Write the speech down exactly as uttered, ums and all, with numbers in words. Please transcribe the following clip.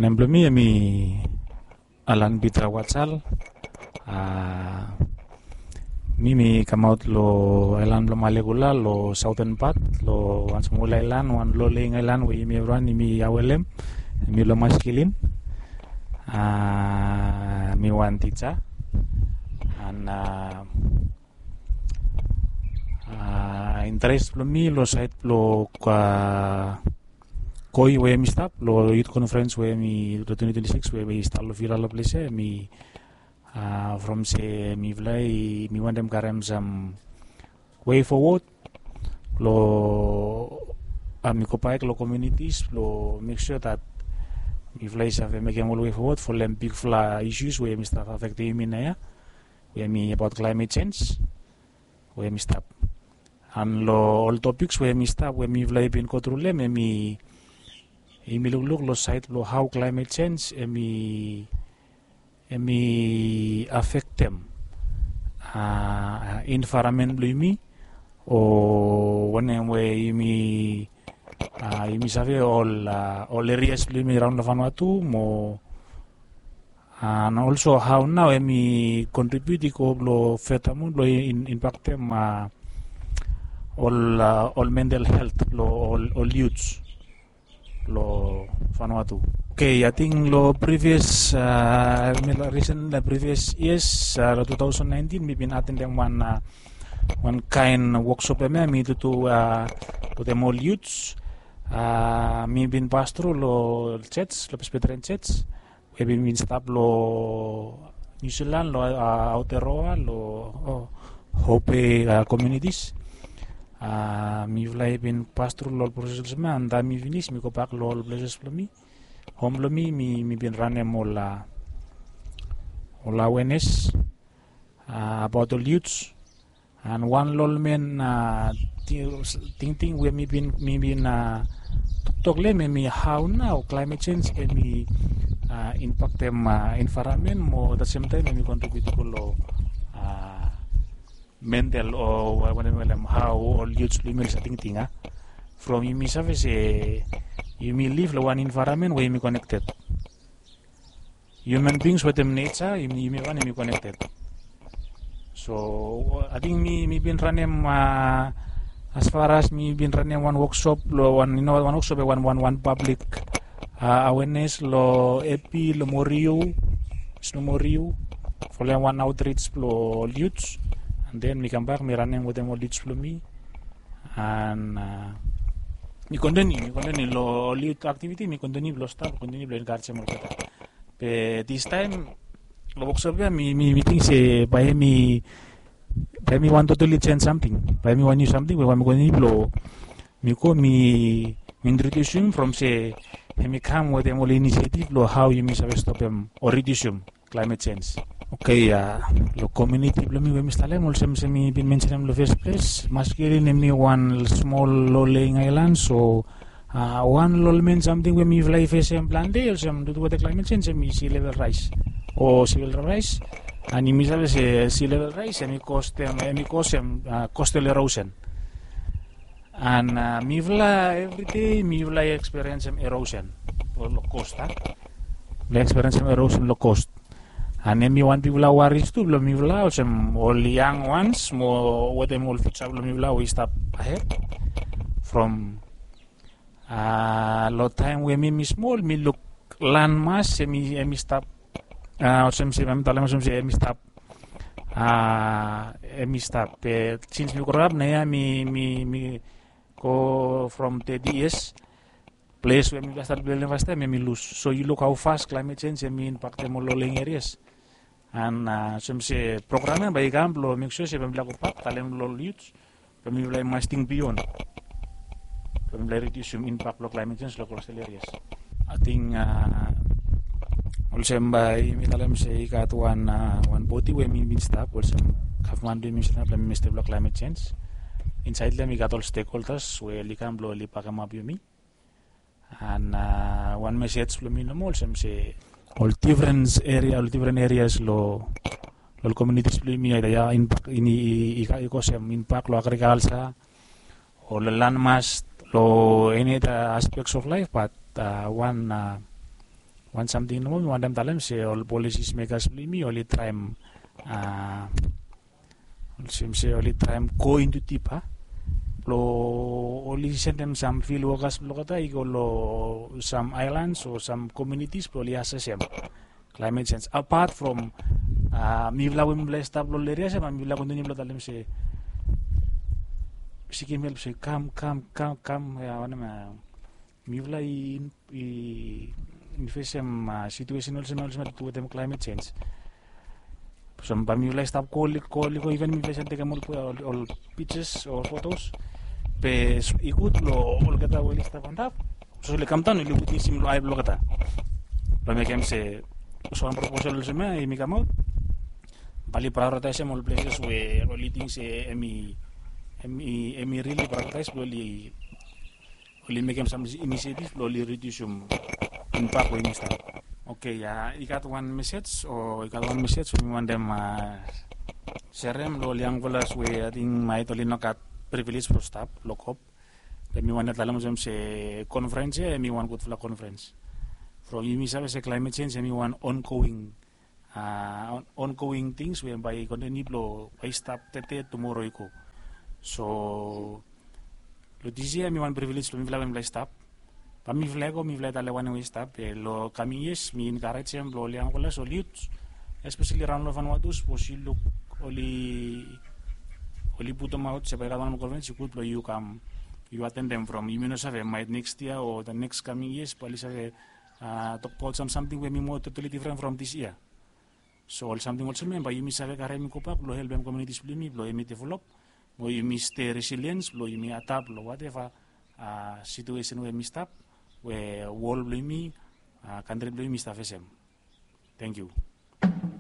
Nem blong mi hemi Alan Peter Watsal. Mi mi kamaot long aelan blong Malekula long saoten pat, long wan smol aelan, wan loleng aelan we yumi evriwan yumi awelem. Mi long Maskilin. Mi wan tija. An interes blong mi long saed blong Koi we hemi stap long yut konfrens we hemi long twenty twenty-six we hemi stap long Vila long ples ia, hemi from se mifala i, mi wantem karem sam wei fowod long, mi go baek long komunitis blong mek sua dat mifala i save mekem ol wei fowod folem bigfala isus we hemi stap afektem yumi naoia, we hemi abaot klaemet sens we hemi stap. An long ol topiks we hemi stap we mifala i bin gotru long hem, hemi, yumi lukluk long saed blong hao klaemet sens hemi, hemi afektem envaeronmen blong yumi, o wanem we yumi, yumi save ol, ol erias blong yumi raon long Vanuatu mo, an olso hao nao hemi kontribiut i go blong fetamun blong impaktem ol, ol mental helt blong ol, ol yuts long Vanuatu. Okei, ating long privias, risen long privias yias, long two thousand nineteen mi bin atendem wan, wan kaen woksop hemia mi tutu wetem ol yuts. Mi bin pas tru long jej, long Presbyterian Jej we bin, bin stap long Niu Silan, long Aotearoa, long Hope komunitis. Mifala i bin pas tru long ol proses olsem ia, an taem mi finis mi gobak long ol pleses blong mi, hom blong mi, mi bin ranem ol, ol awenes abaot ol yuts. An wan long ol men tingting we mi bin, mi bin toktok long hem, hemi hao nao klaemet sens hemi impaktem envaeronmen mo, at the same time hemi kontribiut i go long mental o wanem, wanem, hao ol yuts blong yumi oli save tingting a. From yumi save se yumi liv long wan envaeronmen we yumi konekted. Human beings wetem neja, yumi, yumi wan yumi konekted. So ating mi, mi bin ranem, as far as mi bin ranem wan woksop long wan, yu no, wan woksop, wan, wan, wan pablik awenes long Epi, long Moriu, Snu Moriu, folem wan aotrij blong ol yuts. An den mi kambak mi ranem wetem ol yuts blong mi. An mi kontiniu, mi kontiniu long ol yut aktiviti, mi kontiniu blong stap, kontiniu blong enkarejem olgeta. Be distaem long woksop ia mi, mi, mi ting se bae hemi, bae hemi wan totali jens samting, bae hemi wan niu samting we bae mi kontiniu blong, mi go mi, mi introdiusim from se hemi kam wetem ol inisiativ blong hao yumi save stopem o ridiusim klaemet sens. Okei, long komuniti blong mi we mi stap long hem, olsem se mi bin mensenem long fes ples, Maskilin hemi wan smol loleng aelan, so wan long ol men samting we mifala i fesem plante olsem dudu wetem klaemet sens hemi sea level raes o sea level raes. An yumi save se sea level raes hemi kostem, hemi kosem coastal erosion. An mifala evridei mifala i eksperiensem erosion long kos a. Mifala i eksperiensem erosion long kos. An hemi wan bigfala waris tu blong mifala olsem ol yang wans mo wetem ol fiuja blong mifala we i stap ahed. From long taem we mi, mi smol mi luk landmass hemi, hemi stap, olsem se mi talem olsem se hemi stap, hemi stap. Be sins mi groap naoia mi, mi, mi go from thirty yias, ples we mifala stat bildim fastaem hemi lus. So yu luk hao fas klaemet sens hemi impaktem ol loleng erias. An olsem se program ia bae i kam blong mek sua se bae mifala gobak talem long ol yuts blong mifala i mas ting bion blong mifala i ridiusim impak blong klaemet sens long kostal erias. Ating olsem bae yumi talem se i gat wan, wan bodi we mi bin stap olsem gavman blong yumi stap long Ministri blong Klaemet Sens. Insaed long hem i gat ol stekholdas we oli kam blong oli bakemap yumi. An wan mesej blong mi nomo olsem se ol difren eria, ol difren erias long ol komunitis blong yumi, aida ia impak i, i kosem impak long agrikalja o long landmass, long eni ada aspeks of laef, bat wan Wan samting nomo mi wantem talem se ol polisis mekas blong yumi oli traem, olsem se oli traem go intu dip a, blong oli sendem sam fil wokas blong olgeta i go long sam aelans o sam komunitis blong oli asesem klaemet sens apat from mifala we mifala i stap long ol eria se ba mifala kontiniu blong talem se sikim help se kam kam kam kam ya wanem ya mifala i fesem situesen olsem olsem tu wetem klaemet sens. So ba mifala i stap koli koli go iven mifala i save tekem ol pictures o fotos be i gud long olgeta we oli stap antap so oli kamdaon oli witnesim long ai blong olgeta blong mekem se so wan proposal olsem ya i mi kamaot bali prioritaisem ol pleses we oli ting se em i em i em i rili prioritaisem blong oli oli mekem sam inisiatif blong oli ridiusim impact we yumi stap. Oke ya i gat wan mesej o i gat wan mesej we mi wantem serem long ol yangfala we ating maet oli no gat privilej blong stap long kop. Be mi wantem talem olsem se konferens ya em i wan gudfala konferens from yumi save se klaemet sens em i wan ongoing ongoing tings we bai kontiniu blong bai stap tete tumoro i go. So long dis yia mi wan privilej blong mifala we mifala i stap ba mifala i go mifala i tale wanem we i stap be long kaming yias mi enkarejem blong ol yangfala ol yut espeseli raon long fanwatu sapos yu luk oli oli putumaot se bai i gat wan konferens i gud blong yu kam yu atendem from yumi no save maet neks yia o da neks kaming yias bai oli save tokbaot sam samting we mi moa totali difren from dis yia. So ol samting olsem ya bai yumi save karim i gobak blong helpem komunitis blong yumi blong yumi develop mo yumi stei resiliens blong yumi adap long wateva situesen we yumi stap we wol blong yumi kantri blong yumi stap fesem. Tangkiu.